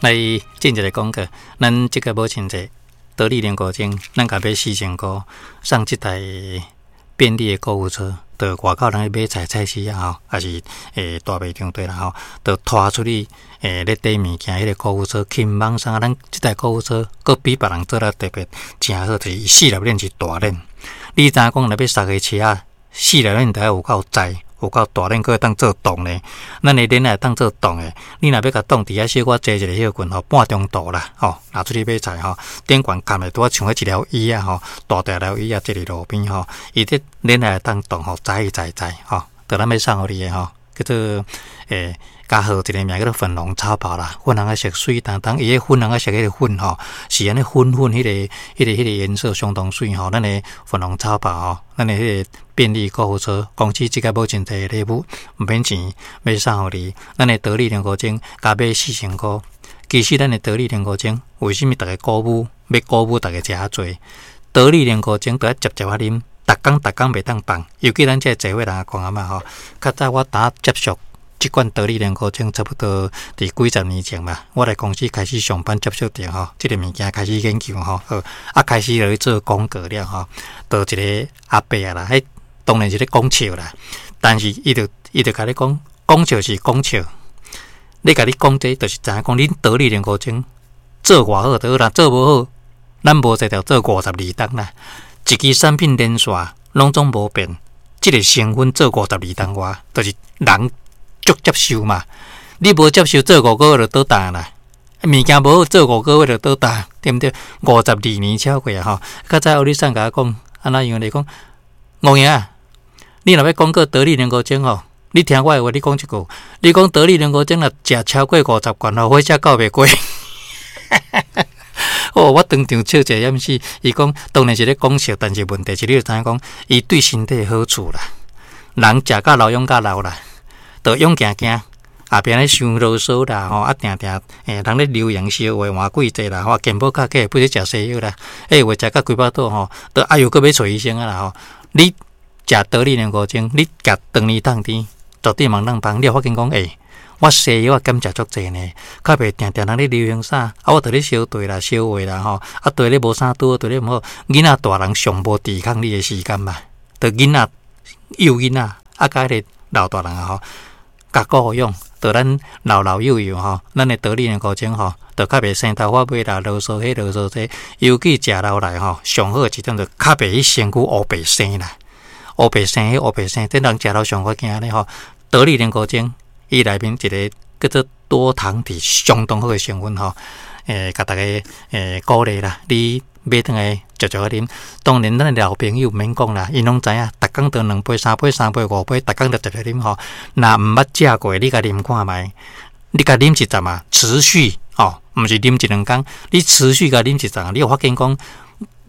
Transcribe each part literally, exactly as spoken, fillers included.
來進一个廣告，咱這個母親節，得力連國精，咱共買四千箍，送這台便利的購物車，到外口人去買菜菜市仔吼，抑是欸大賣場對啦吼，就拖出去欸咧綴物件，彼个購物車輕鬆送。咱這台購物車閣比別人做了特別誠好，就是伊四粒鏈是大鏈。你知影講若欲捒个車仔，四粒鏈著愛有夠載，有夠大鏈，閣會當做動咧。咱的鏈會當做動的，你若欲共擋佇遐小可坐一下歇睏吼，半中途啦吼，若出去買菜吼，頂懸崁的拄仔像彼一條椅仔吼，大大條椅仔坐佇路邊吼，伊這鏈會當動吼，載載載吼，著咱欲送予你的吼，叫做欸，加號一个名叫做粉紅超跑啦，粉紅仔色媠當當，伊彼粉紅仔色彼个粉吼，是按呢粉粉彼个、彼个、彼个顏色相當媠吼。咱的粉紅超跑吼，咱的彼个便利購物車，公司這个母親節的禮物，毋免錢，欲送予你。咱的得力連國精共買四千箍，其實咱的得力連國精為啥物逐家鼓舞，欲鼓舞逐家食較濟？得力連國精著愛捷捷仔啉，逐工逐工袂當放，尤其咱這個濟歲人講啊嘛吼，較早我當接觸這款得力連國精，差不多佇幾十年前嘛，我來公司開始上班接觸著吼，這个物件開始研究吼，好啊，開始落去做廣告了吼，就一个阿伯啊啦，彼當然是咧講笑啦，但是伊就伊就共你講，講笑是講笑，咧共你講這就是知影講恁得力連國精做偌好就好啦，做無好，咱無才調做五十二冬啦，一支產品連續攏總無變，這个成分做五十二冬外，就是人足接受嘛。你無接受做五個月就倒彈啦，物件無好做五個月就倒彈，對毋對？五十二年超過啊吼！較早歐里桑共我講，按怎樣來講？戇爺啊，你若欲廣告得力連國精吼，你聽我的話，你講一句，你講得力連國精若食超過五十罐吼，火車到袂過。哦，我當場笑一下掩死。伊講當然是咧講笑，但是問題是你就知影講，伊對身體好處啦。人食甲老，養甲老啦，就勇行行，後壁咧傷囉嗦啦吼，啊定定欸人咧流言笑話換幾濟啦，吼，健保卡計不是食西藥啦，欸有的食甲規腹肚吼，就哎喲閣欲揣醫生啊啦吼。你食得力連國精，你食長年當甜，絕對毋通放。你會發現講欸，我西藥啊減食足濟呢，較袂定定人咧流行啥，啊我佇咧燒茶啦、燒話啦吼，啊對咧無啥拄好，對咧毋好，囡仔大人上無抵抗力的時間嘛，著囡仔幼囡仔啊，佮彼個老大人啊吼，共顧養，著咱老老幼幼吼，咱的得力連國精吼，著較袂生頭髮尾啦，囉嗦彼囉嗦這，尤其食落來吼，上好的一點就較袂去身軀烏白生啦，烏白生彼烏白生，這人食了上較驚咧吼，得力連國精。伊內面一个叫做多糖體相當好的成分吼，欸，共大家欸鼓勵啦，你買轉來捷捷仔啉。當然，咱的老朋友毋免講啦，𪜶攏知影，逐工都兩杯、三杯、三杯、五杯，逐工都捷捷啉吼。若毋捌食過，你共啉看覓，你共啉一陣啊，持續吼，毋是啉一兩工，你持續共啉一陣，你會發現講，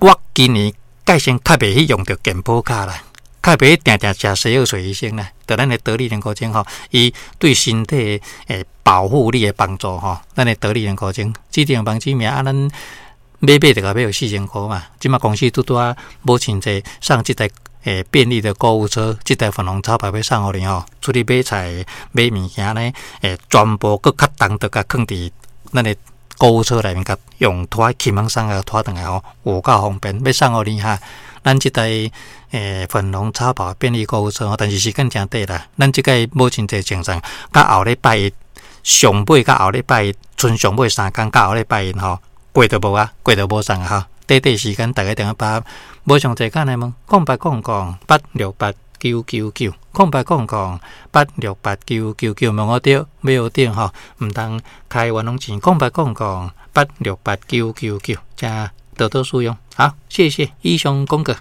我今年蓋先較袂去用著健保卡啦。較袂定定食西藥揣醫生啦，著咱的得力連國精吼，伊對身體的保護力的幫助吼，咱的得力連國精，這張網址名啊，咱買買就共買予四千箍嘛。這馬公司拄拄仔母親節送這台欸便利的購物車，這台粉紅超跑欲送予你吼，出去買菜買物件呢，欸全部閣較重，就共囥佇咱的購物車內面，共用拖輕鬆送共拖轉來吼，有夠方便，欲送予你哈。咱這台欸粉紅超跑便利購物車吼，但是時間誠短啦。咱這個母親節精神，到後禮拜一上尾，到後禮拜一，賰上尾三工，到後禮拜一吼，過就無啊，過就無送啊吼。短短時間，大家定愛把握。無上濟簡來問，空八空空八六八九九九，空八空空八六八九九九，問我著，欲學著吼，毋通開冤枉錢，空八空空八六八九九九，請多多使用。好，謝謝，以上廣告。